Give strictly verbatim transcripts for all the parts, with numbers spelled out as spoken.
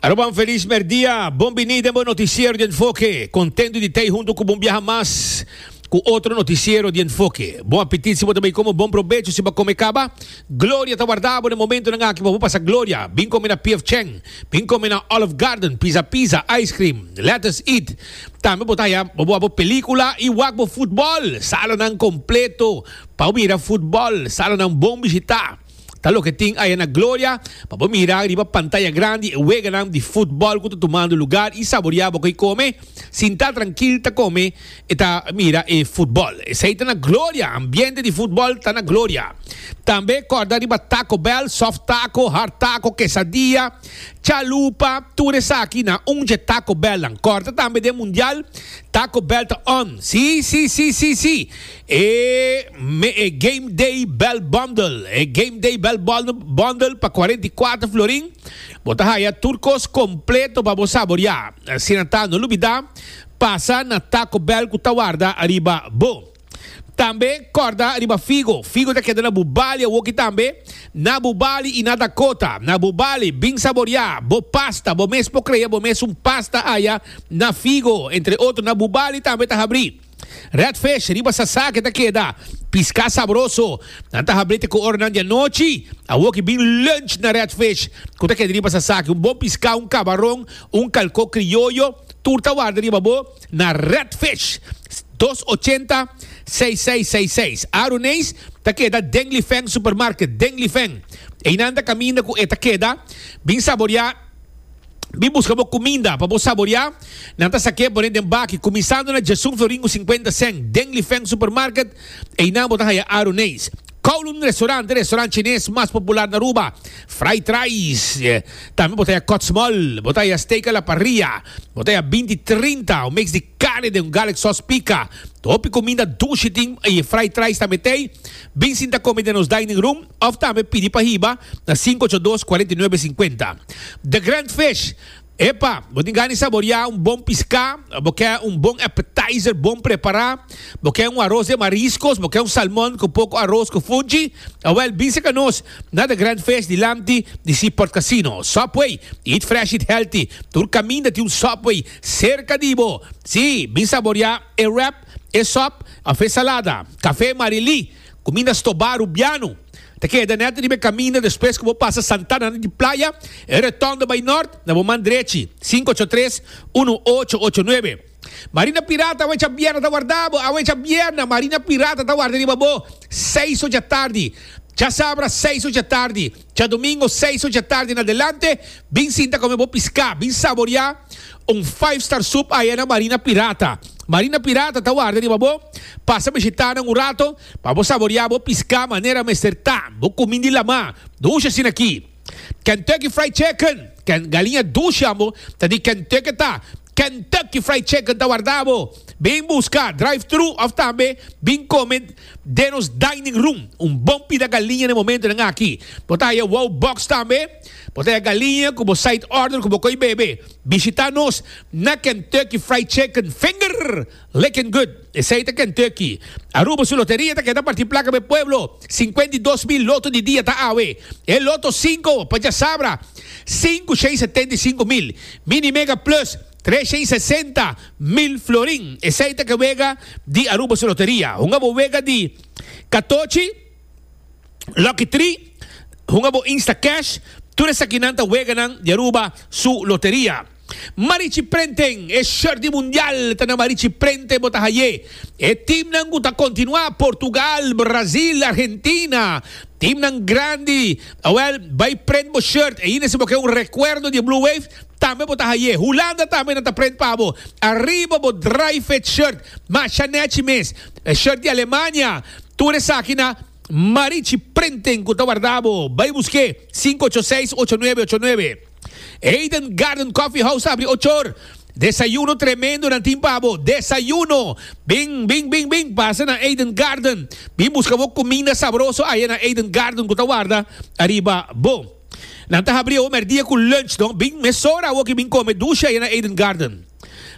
Aruba, un feliz merdia. Bon bini den noticiero di Enfoke. Contento di ta hunto cu un biaha mas cu otro noticiero di Enfoke. Bon apetit si bo tambe come, bon probecho si bo a come caba. Gloria ta warda bo na momento nan aki pa pasa Gloria. Bin come na P F Chang, bin come na Olive Garden, Pizza Pizza, Ice Cream, Let Us Eat. Tambe bo ta haya bo bo pelicula y wak bo futbol, sala nan completo pa mira futbol, sala nan bon bishita. Ta loke tin ey na Gloria, pa mira riba pantaya grandi e weganan di futbol cu ta tumando lugar y saborea bo come, sinta trankil ta come y ta mira e futbol. Esey ta na Gloria, ambiente di futbol ta na Gloria. Tambe corda riba Taco Bell, soft taco, hard taco, quesadilla, chalupa, tur esaki na un Taco Bell. Corda tambe den Mundial, Taco Bell ta on. Si, si, si, si, si. E, me, e Game Day Bell Bundle. E Game Day Bell Bundle pa cuarenta y cuater florin. Bo ta haya tur cos completo pa bo saborea. Asina ta, no lubida, pasa na Taco Bell cu ta warda ariba bo. Tambe corda riba Figo. Figo ta keda na Bubali, aki tambe. Na Bubali y na Dakota. Na Bubali, bin saborea. Bo pasta, bo mes por crea, bo mes un pasta aya na Figo. Entre otro, na Bubali tambe ta habri. Red Fish, riba Sasaki ta keda. Pisca sabroso. Nan ta habri te cu oranan di anochi. Awoki bin lunch na Red Fish. Cu ta keda riba Sasaki. Un bon pisca, un cabaron, un calco crioyo. Tur ta warda riba bo na Red Fish. dos ochenta seis seis seis seis. Aruneis ta keda Dengli Feng Supermarket. Dengli Feng. Einan ta caminda cu e ta keda. Bin saborea, bin busca bo cuminda pa bo saborea. Nan ta sake pone den baki cuminsando na diesun florin cu cincuenta cent. Dengli Feng Supermarket. Einan bo ta haya Aruneis. Kowloon Restaurant, restaurant chines mas popular na Aruba. Fried rice, eh, tambe bo ta haya cut small, bo ta haya steak a la parrilla, bo ta haya binti trinta, un mix di carne den un garlic sauce pica. Hopi cuminda dushi tin y fried rice tambe tin. Bin sinta come den nos dining room, of tambe pidi pa hiba na cinco ocho dos cuarenta y nuebe cincuenta. The Grand Fish. Epa, bo tin gana saborea un bon pisca, bo kier un bon appetizer, bon prepara, bo kier un aros di mariscos, bo kier un salmon cu poco aros cu funchi, awel, bin serca nos na The Grand Fish dilanti di Seaport Casino. Subway, eat fresh, eat healthy. Tur caminda tin un Subway cerca di bo. Si, bin saborea e wrap, e sop, of salada. Café Marili, cuminda stoba Rubiano. Ta keda net riba caminda despues cu bo pasa Santana di Playa, e rotonde bay nort, na bo man drechi, cinco ocho tres uno ocho ocho nuebe. Marina Pirata, awe diabierna ta warda bo, awe diabierna, Marina Pirata ta warda riba bo, seis or di atardi. Diasabra, seis or di atardi. Diadomingo, seis or di atardi na adelante, bin sinta come bo pisca, bin saborea un five star soup ey na Marina Pirata. Marina Pirata ta warda riba bo, pasa bishita un rato, pa bo saborea bo pisca manera mester ta, bo cuminda di lama, dushi asina aki. Kentucky Fried Chicken, Ken, galiña dushi amo, ta di Kentucky ta. Kentucky Fried Chicken ta warda bo. Bin busca drive-thru of tambe bin come den nos dining room. Un bon pida galiña na momento nan aki. Bo ta haya wow box tambe. Bo ta haya galiña cu side order cu co'i bebe. Bishita nos na Kentucky Fried Chicken. Finger licking good. Esey ta Kentucky. Aruba su loteria ta keda parti placa pa pueblo. cincuenta y dos mil loto di dia ta awe. E loto cinco pa diasabra. cinco, seis, setenta y cinco mil. Mini Mega Plus trescientos sesenta mil florin. Esey ta e wega di Aruba su loteria. Hunga bo wega di catochi, Lucky Three, hunga bo Insta Cash, tur esakinan ta weganan di Aruba su loteria. Marichi Printing, e shirt di Mundial, ta na Marichi Printing bo ta hay'e. E team nan ta continua, Portugal, Brasil, Argentina, team nan grandi. Well, bay print bo shirt, y si bo kier un recuerdo di Blue Wave, tambe bo ta hay'e. Hulanda tambe nan ta print pa bo. Ariba bo dry fit shirt, masha nechi mes. E shirt di Alemania, tur esaki na Marichi Printing, cu ta warda bo. Bay busc'e, cinco ocho seis ocho nuebe ocho nuebe. Eden Garden Coffee House habri ocho or. Desayuno tremendo nan tin pa bo. Desayuno. Bin, bin, bin, bin. Pasa na Eden Garden. Bin busca bo cuminda sabroso ey na Eden Garden cu ta warda ariba bo. Nan ta habri o merdia cu lunch, no? Bin mesora o cu bin come dushi ey na Eden Garden.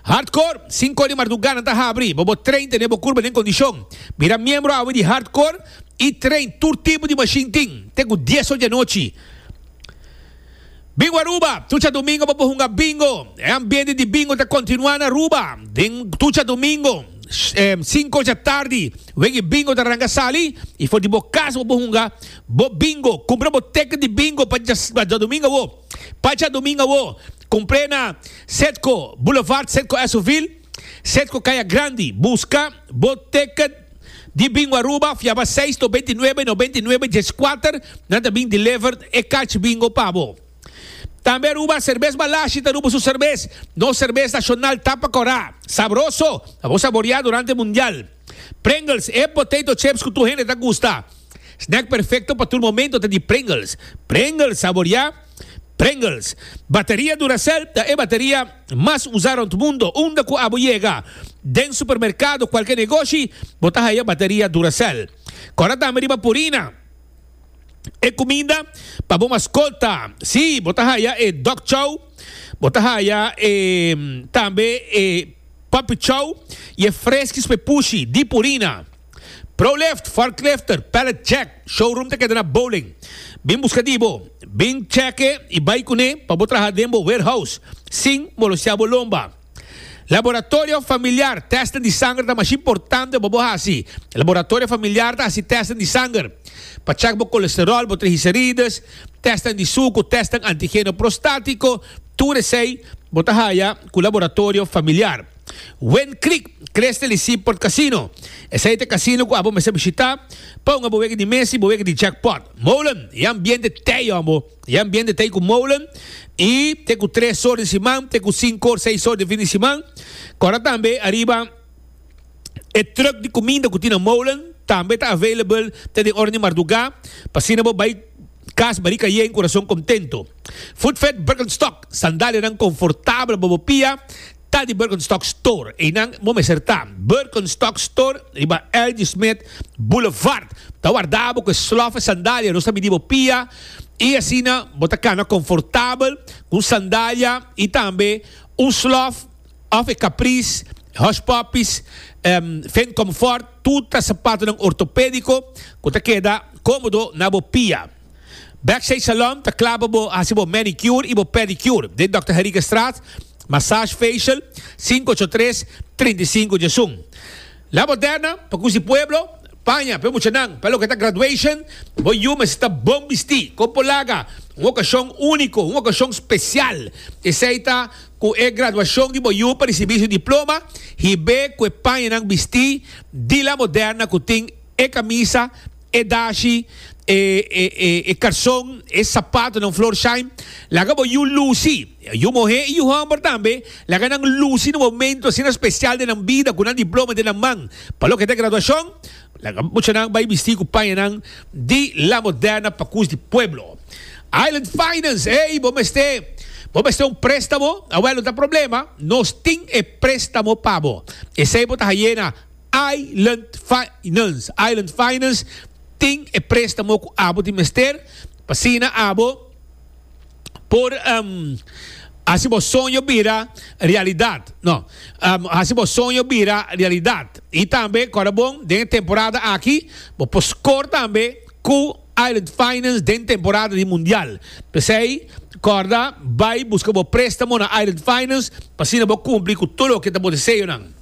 Hardcore, cinco di marduga nan ta habri. Bo bo train tene bo curpa den condicion. Bira miembro awe di Hardcore y train tur tipo di machine tin. Te cu dies or di anochi. Bingo Aruba, tur djadumingu bo por hunga bingo. E ambiente di bingo ta kontinuá na Aruba. Den tur djadumingu, eh, sinku di atardi, wega bingo ta ranka sali i for di bo kas bo por hunga bo bingo. Kumpra bo ticket di bingo pa djadumingu bo. Pa djadumingu bo. Kumpr'é na Setco Boulevard, Setco Essoville, Setco Kaya Grandi. Buska bo ticket di Bingo Aruba, yama seis nobenta i nuebe nobenta i nuebe dieskuater, nan ta bin deliver e karchi bingo pa bo. Tambe Aruba, serbes Balashi ta Aruba su serbes. Nos serbes nashonal tapa kòrá. Sabroso. Bo saboriá durante Mundial. Pringles, e potato chips ku tur hende ta gusta. Snack perfekto pa tur momento ta di Pringles. Pringles, saboriá. Pringles. Bateria Duracell e bateria mas usá na mundu. Unda ku abo yega. Den supermerkado, kualke negoshi, bo ta haya bateria Duracell. Kòrda tambe riba Purina. E kuminda pa bo maskota. Si, bo ta haya e dog chow, bo ta haya e, tambe e puppy chow i e Friskies pa pushi di Purina. ProLift, Forklifter, Pallet Jack, showroom ta keda na Bowling. Bin buska di bo, bin check i bai kuné pa bo traha den bo warehouse, sin molestiá bo lomba. Laboratorio Familiar, tèst di sanger ta mas importante pa bo hasi. Laboratorio Familiar ta hasi tèst di sanger. Pa check bo kolesterol, bo triglicérides, tèst di suku, tèst antigeno prostátiko, tur esei bo ta haya ku Laboratorio Familiar. Wind Creek, Crystal i Seaport Casino. Esei ta e casino ku abo mester bishitá pa un bo wega di Messi, bo wega di jackpot. Molen, e ambiente t'ei, amo. E ambiente t'ei ku Molen i te ku tres or di siman, te ku sinku or, seis or di fin di siman. Kòrda tambe ariba e truck di kuminda ku tin na Molen, tambe ta available te den ora di mardugá, pa asina bo bai kas barika yen, kurason kontentu. Footfed Birkenstock, sandalianan konfortabel pa bo pia, ta di Birkenstock Store. Einan bo mester ta. Birkenstock Store riba L G. Smith Boulevard. Ta warda bo ku slof e sandalia, nos ta midi bo pia i asina bo ta kana konfortabel ku sandalia i tambe un slof òf e Caprice, Hush Puppies, um, Fen Comfort, tur sapatunan ortopédiko ku ta keda kómodo na bo pia. Backstage Salon, ta kla pa bo hasi bo manicure i bo pedicure. Den Doctor Henriquezstraat, massage facial, sinku ocho tres trinta i sinku diesun. La Moderna, pa ku pueblo, paña, pa muchanan, pa loke ta graduation, bo yu mester ta bon bistí, kon por laga, un okashon úniko, un okashon spesial. Esei ta ku e graduashon di bo yu pa risibí su diploma, hib'é ku e pañanan bistí di La Moderna ku tin e kamisa, e dashi, e, e, e, e karson, e sapatunan Florsheim. Laga bo yu lusi, yu muhé i yu hòmber tambe, laga nan lusi na un momento asina spesial di nan bida, ku nan diploma den nan man. Pa loke ta graduashon, laga muchanan bai bistí ku pañanan di La Moderna pa di pueblo. Island Finance, hey, bo mester, bo mester un préstamo, awèl, no ta problema, nos tin e préstamo pa bo. Esei bo ta hay'é na Island Finance. Island Finance tin e préstamo ku abo tin mester, pa asina abo por um, hasi bo soño bira realidat. No, um, hasi bo soño bira realidat. I tambe, kòrda bon, den temporada aki, bo por score tambe ku Island Finance den temporada di Mundial. P'esei, kòrda, bai buska bo préstamo na Island Finance, pa asina bo kumpli ku tur loke ta bo deseonan.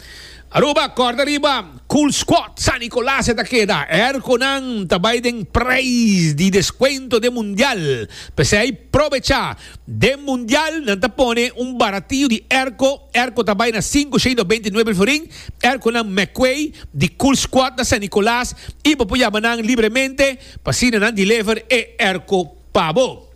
Aruba, kòrda riba, Cool Squad, San Nicolas ta keda, airconan ta bai den prijs di deskuento di Mundial. P'esei, probechá, den Mundial, nan ta pone un baratio di airco, airco ta bai na sinku shen i nobenta i nuebe florin, airconan McQuay di Cool Squad na San Nicolas, i bo por yama nan libremente, pa asina nan deliver e airco pa bo.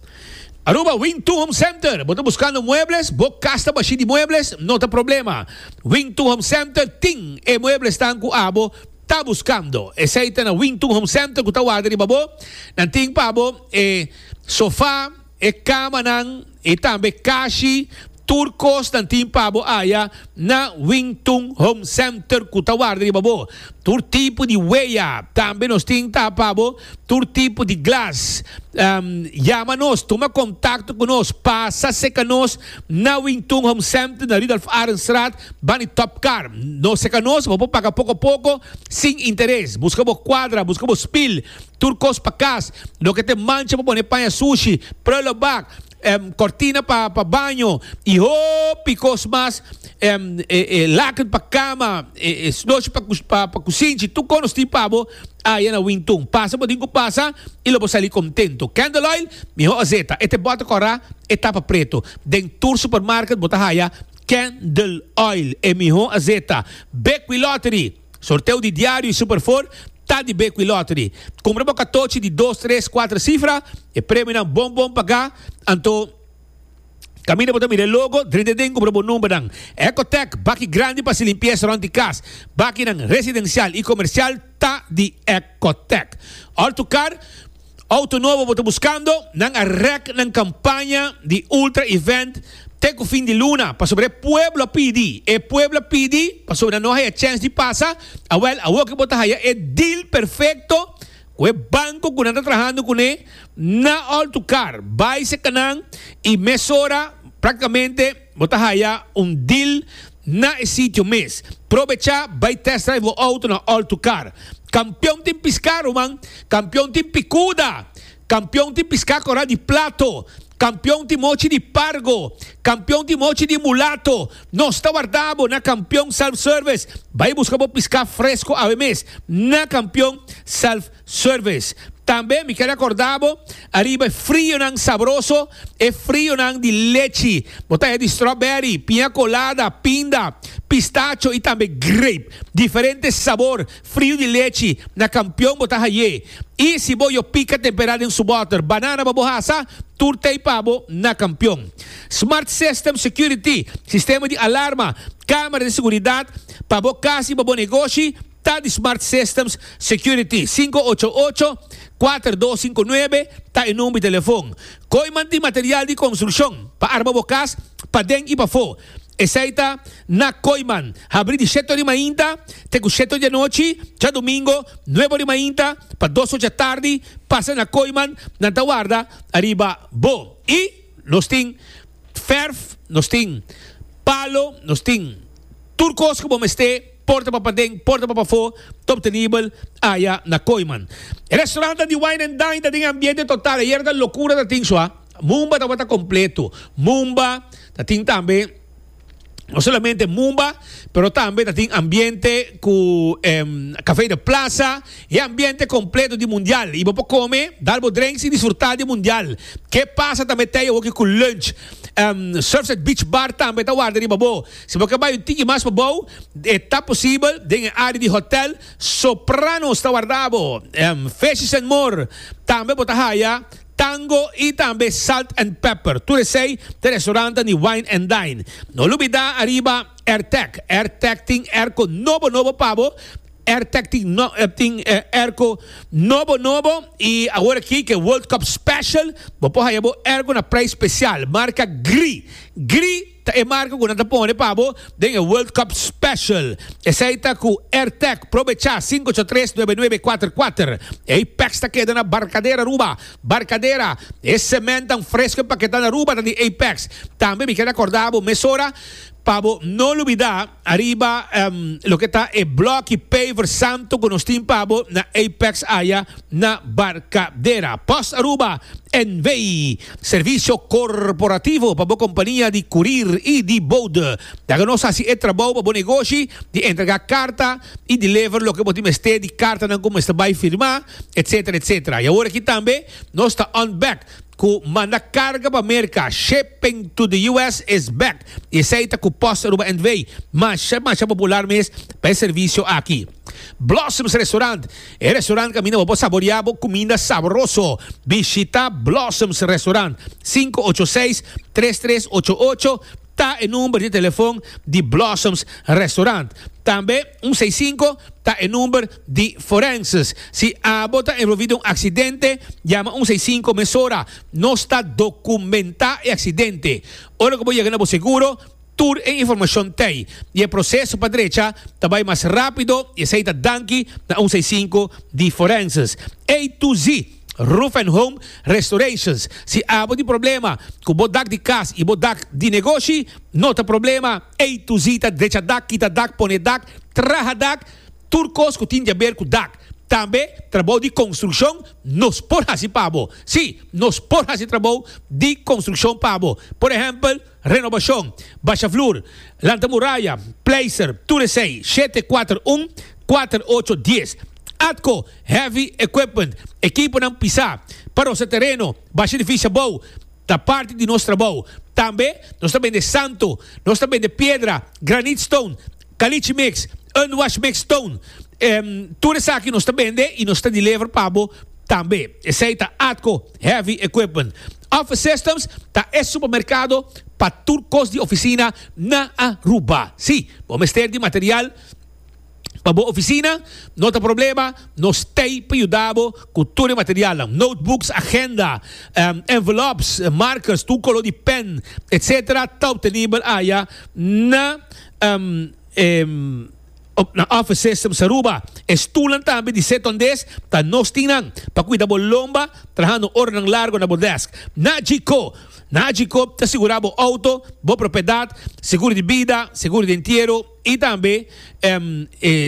Aruba Wing two Home Center. Bo ta buskando muebles, bo kas ta bashí di muebles, no ta problema. Wing two Home Center tin e mueblesnan ku abo ta buskando. Esei ta na Wing two Home Center ku ta warda riba bo. Nan tin pa bo e sofa, e kamanan, i tambe kashi, tur kos nan tin pa bo aya na Wing Tun Home Center ku ta warda riba bo. Tur tipo di wea, tambe nos tin ta pa bo, tur tipo di glas. Um, yama nos, tuma kontakto ku nos, pasa serka nos na Wing Tun Home Center na Rudolf Arendstraat, band'i Top Car. Nos serka nos, bo paga poko poko, sin interes. Buska bo kuadra, buska bo spil, tur kos pa kas, loke ta mancha pa pone paña sushi, prullenbak, um, cortina pa pa baño y hopi cos mas, um, eh, eh, laken pa cama, eh, eh, snochi pa pa, pa cusinchi, tur cos tin pa bo aya na Wing Tun. Pasa bo tin cu pasa y lo bo sali contento. Candle Oil, miho azeta. E ta boter cora, e tapa preto. Den tur supermarket bo ta haya Candle Oil, e miho azeta. Bequi Lottery, sorteo di Diario y Super cuater ta di Bequi Lottery. Cumpra un catochi di dos, tres, cuater cifra e premio bon bon paga. Anto caminda bo ta mira logo, drenta den, cumpra bo number. Ecotech, baki grandi pa limpieza rond di cas. Baki residencial y comercial ta di Ecotech. Auto Car, auto nobo bo ta buscando, nan a rek nan campaña di Ultra Event te cu fin di luna, pasobra e pueblo a pidi, e pueblo a pidi, pasobra no haya chance di pasa, awel, awor cu bo ta haya e deal perfecto, cu e banco cu nan ta trahando cune, na Auto Car, bay serca nan y mesora, practicamente, bo ta haya un deal na sitio mes. Aprovecha, bay test drive e auto na Auto Car. Campeon tin pisca, man. Campeon tin picuda. Campeon tin pisca cora di plato. Campeon tin mochi di pargo. Campeon tin mochi di mulato. Nos ta warda bo na Campeon Self Service. Bay busca bo pisca fresco awe mes na Campeon Self Service. Tambe mi kier recorda bo, ariba frionan sabroso e frionan di lechi. Bo ta di strawberry, piña colada, pinda, pistacho y tambe grape. Diferente sabor, frio di lechi. Na Campeon bo ta haye. Y si bo pica tempera den su boter, banana pa bo hasa, tur t'ey pa bo na Campeon. Smart System Security, sistema di alarma, camera di seguridad, pa bo cas y pa bo negoshi, ta di Smart Systems Security. cinco ocho ocho, cuater dos cinco nuebe ta e number di telefon. Kooyman di material di construccion, pa arma bo cas, paden y pafo. Esey ta na Kooyman. Habri di shete di mainta te cu shete di anochi, diadomingo, nuebe di mainta, pa dos di atardi, pasa na Kooyman, nan ta warda ariba bo. Y nos tin verf, nos tin palo, nos tin tur cos cu bo mester, porta pa paden, porta pa pafo, ta obtenibel aya na Kooyman. Restaurant di Wine and Dine tin ambiente total. Ayera ta locura tatin sua. Mumba tabata completo. Mumba, tin tambe no solamente Mumba, pero tambe tin ambiente cu um, Café de Plaza y ambiente completo di Mundial. Y bo por come, dal bo drinks y disfruta di Mundial. Ke pasa tambe tin aki cu lunch. Um, Surfside Beach Bar tambe ta warda riba bo. Si bo bay un tiki mas pabou, ta posibel den area di hotel Sopranos ta warda bo. Um, Fishes and More tambe bo ta haya Tango y tambe Salt and Pepper. Tur esey ta restaurant di Wine and Dine. No lubida ariba AirTech. AirTech tin airco nobo nobo pa bo. AirTech tin, no, eh, tin eh, airco nobo nobo y awor aki cu World Cup Special, bo por haya bo airco na prijs special. Marca Gree. Gree ta e marca cu nan ta pone pa bo den World Cup Special. Esey ta cu AirTech. Aprovecha, cinco ocho tres, nuebe nuebe cuater cuater. Apex ta keda na Barcadera, Aruba. Barcadera. E cemento fresco paketa na Aruba ta di Apex. Tambe mi kier recorda bo mesora pa bo no lubida ariba um, loke ta e block paver santo cu nos tin pa bo na Apex aya na Barcadera. Post Aruba N V, servicio corporativo pa bo compania di courier y di bode. Laga nos haci e trabou pa bo negoshi di entrega carta y deliver loke bo mester di carta nan cu mester bay firma, et cetera et cetera. Y awor aki tambe nos ta on back cu manda carga pa America. Shipping to the U S is back. Y esey ta cu Post Aruba N V. Mas, mas popular mes pa e servicio aki. Blossoms Restaurant. E restaurant caminda pa saborea cuminda sabroso. Bishita Blossoms Restaurant. cinco ocho seis, tres tres ocho ocho ta e number di telefon di Blossoms Restaurant. Tambe un seis cinco ta e number di Forenses. Si abo ta envolvi den un accidente, yama un seis cinco mesora. Nos ta documenta e accidente. Ora cu yega na seguro, tur e informacion t'ey. Y e proceso pa drecha ta bay mas rapido y esey ta danki na un seis cinco di Forenses. A to Z Roof and Home Restorations. Si abo tin problema cu bo dak di cas y bo dak di negoshi, no ta problema. A to Z ta drecha dak, kita dak, pone dak, traha dak, tur cos cu tin di haber cu dak. Tambe trabou di konstrukshon nos por hasi pa bo. Sí, nos por hasi trabou di konstrukshon pa bo. Por ehèmpel, renobashon, basha flur, lanta muraya, pleister, tur esei. Shete kuater un, kuater ocho dies. Atco Heavy Equipment, ekiponan pisá pa rosa tereno, basha edifisio abou, ta parti di nos trabou. Tambe nos ta bende santo, nos ta bende piedra, granite stone, caliche mix, unwash mix stone. Tur esaki nos ta bende y nos ta deliver pa bo tambe. Esey ta Atco Heavy Equipment. Office Systems ta e supermercado pa tur cos di oficina na Aruba. Si, bo mester di material pa bo oficina, no ta problema, nos t'ey pa yuda bo cu tur e materialnan, notebooks, agenda, envelopes, markers, tur color di pen, etc. Ta obtenibel aya na na Office Systems Aruba. E stoelnan tambe di setondes ta nos tin nan pa cuida bo lomba trahando oranan largo na bo desk. Nagico, Nagico ta sigura bo auto, bo propiedad, seguro di bida, seguro di entiero, y tambe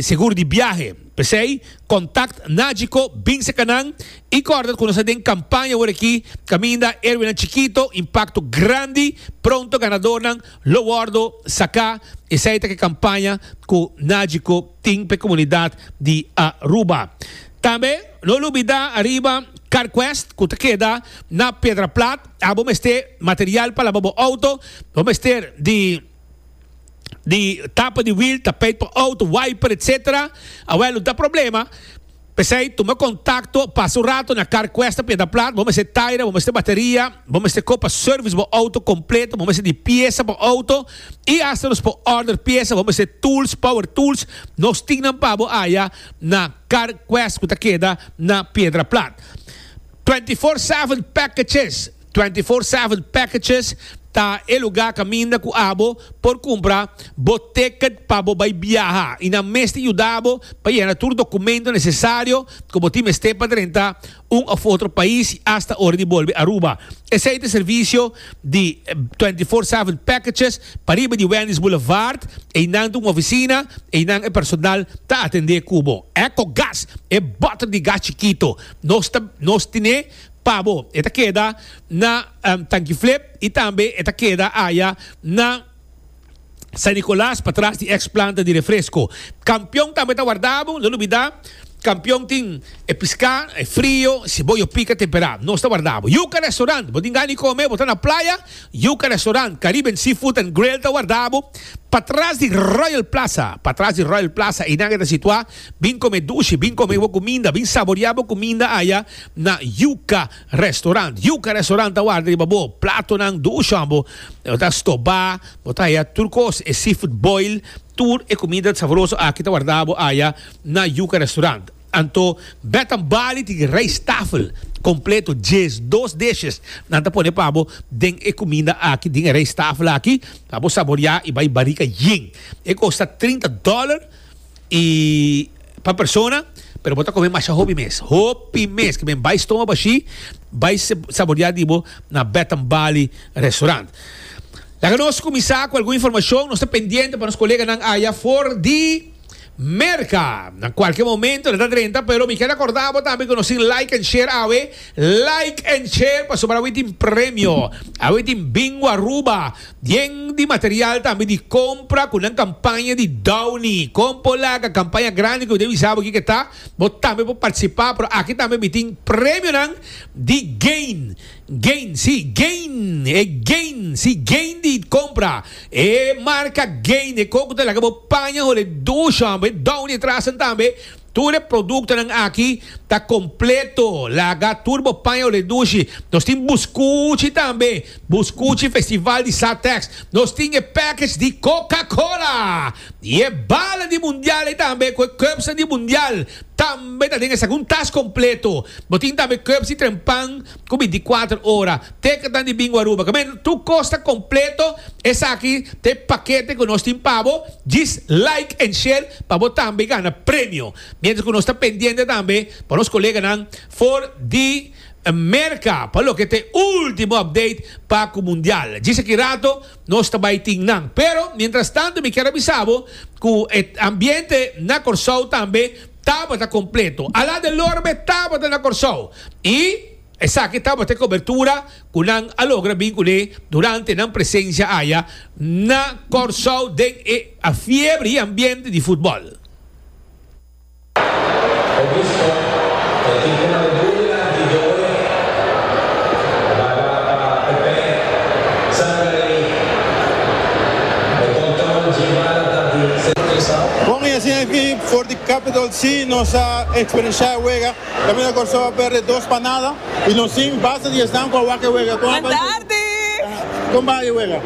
seguro di biahe. P'esey, contact Nagico, bin seca nan y corda cu nos ta den campaña awor aki, caminda Erwinnan Chikito, impacto grandi, pronto ganadornan lo wordo saca. Esey ta ke campaña cu Nagico tin p'e comunidad di Aruba. Tambe no lubida ariba CarQuest cu ta keda na Piedra Plat. Abo mester material pa laba bo auto, bo mester di di tapa di wiel, tapijt pa auto, wiper, etc. Awel, no ta problema. P'esei, tuma contacto, pasa un rato na CarQuest na Piedra Plat. Bo mester taira, bo mester bateria, bo mester ko pa service bo auto completo, bo mester di pieza pa auto y hasta nos por order pieza, bo mester tools, power tools, nos tin nan pa bo aya na CarQuest cu ta keda na Piedra Plat. Twenty four seven packages. Twenty four seven packages ta e lugar caminda cu abo por cumpra bo ticket pa bo bay biaha y nan mes ta yuda bo pa yena tur documento necesario cu bo tin mester pa drenta un of otro pais y hasta ora di bolbe Aruba. Esey ta e servicio di twenty four seven packages pariba di Wendy's Boulevard. Eynan ta un oficina, eynan e personal ta atende cu bo. Ecogas, e boter di gas chikito nos ta nos tine Pa bo, e ta keda na Tanki Flip y tambe e ta keda aya na San Nicolas patras di ex planta di refresco. Campeon tambe ta warda bo, no lubida, Campeon tin e pisca, e frio, siboyo pica tempera. Nos ta warda bo. Yuca Restaurant, bo tin gana di come, bo ta na playa, Yuca Restaurant, Caribbean Seafood and Grill ta warda bo patras di Royal Plaza, patras di Royal Plaza, einan e ta situa. Bin come dushi, bin come bo cuminda, bin saboria bo cuminda aya na Yuca Restaurant. Yuca Restaurant ta warda riba bo platonan dushi amo. Bo ta stoba, bo ta haya tur cos, e seafood boil, tur e cuminda sabroso aki ta warda bo aya na Yuca Restaurant. Anto Beth and Bali tin rijsttafel completo, djes dos dishes nan ta pone pa bo den e cuminda aki, den e rijsttafel aki, pa bo saboria y bay barica yen. E costa trinta dollar y pa persona, pero bo ta come masha hopi mes, hopi mes, ke men bay stoma bashi, bay saboria di bo na Beth and Bali Restaurant. Laga nos cuminsa cu algun informacion, nos ta pendiente pa nos coleganan aya for di Merca. Na cualkier momento nan ta drenta, pero mi kier acorda bo tambe cu nos tin like and share awe, like and share pasobra awe tin premio, awe tin Bingo Aruba, yen di material tambe di compra cu nan campaña di Downy, con por laga campaña grandi cu mi ta bisa bo kico ta, bo tambe por participa, pero aki tambe mi tin premionan di Gain. Gain, sí, Gain, e Gain, sí, Gain di compra, e marca Gain, e coco ta laga bo paña hole dushi hombre, e Downy atrasan tambe, tur e productonan aki ta completo, laga tur bo paña hole dushi, nos tin buscuchi tambe, buscuchi festival di Satex, nos tin e package di Coca Cola, y e bala di mundial ey tambe, cu e cupsnan di mundial. Tambe ta den esaki un tas completo. Bo tin tambe cups di trempan cu binticuater ora. Ticketnan di Bingo Aruba. Caminda tur cos ta completo. Esaki ta e pakete cu nos tin pa bo. Djis like and share pa bo tambe gana premio. Mientras cu nos ta pendiente tambe pa nos coleganan for di Merca pa loke ta e ultimo update pa cu Mundial. Djis aki rato nos ta bay tin nan. Pero mientras tanto mi kier a bisa bo cu e ambiente na Corsou tambe tabata kompleto. Alain Delorme tabata na Kòrsou i esaki tabata e kobertura ku nan a logra bin kuné durante nan presensia aya na Kòrsou den e fiebre i ambiente di futbòl. Bon i asina aki for di Capital si nos a eksperenshá e wega. Kaminda Kòrsou a pèrdè dos pa nada i nos tin basta di esnan ku a wak e wega. Kon a bai? Kon bai e wega?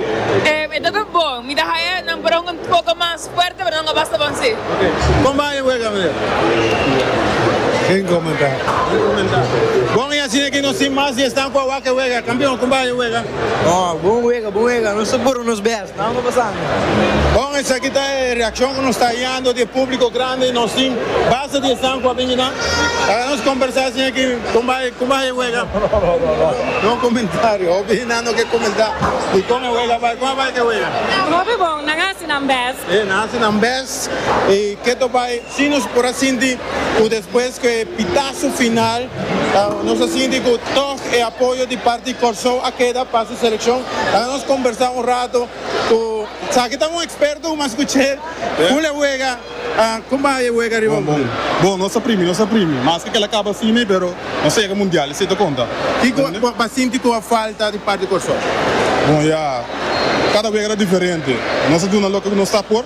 E ta bon. Mi ta haya nan por un poko mas fuerte pero nan a basta bon si. Kon bai e wega meneer? Geen commentaar. Geen commentaar. Bon i asina ki nos tin mas di esnan ku a wak e wega. Kampion, kon bai e wega? Oh, bon wega, bon wega. Nos ta puru nos best. Nan ta pasando. Bon, esaki ta e reakshon ku nos ta hayando di e públiko grandi. Nos tin basta di esnan ku a bini nan. Laga nos kombersá asina ki kon bai, kon bai e wega. No komentario. Hopi nan no ke komentá di kon e wega bai. Kon a bai ku e wega? Hopi bon. Nan a hasi nan best. E, nan a hasi nan best. I ke ta bai? Si nos por a sinti ku despues ku e pitazo final nos a sinti ku tòg e apoyo di parti Kòrsou a keda pa su selekshon. Laga nos kombersá un rato ku sa ki ta un eksperto ku mas kuch'é ku le wega. Kon bai e wega riba Bon, bon. Bon, nos a primi, nos a primi. Maske kel a kaba asina, pero nos a yega mundial, esei ta konta. Kiko bo a sinti ku a falta di parti Kòrsou? Bon, ya, kada wega ta diferente. Nos a duna loke ku nos ta por.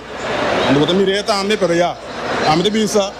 Bo ta mir'é tambe, pero ya, ami ta bisa.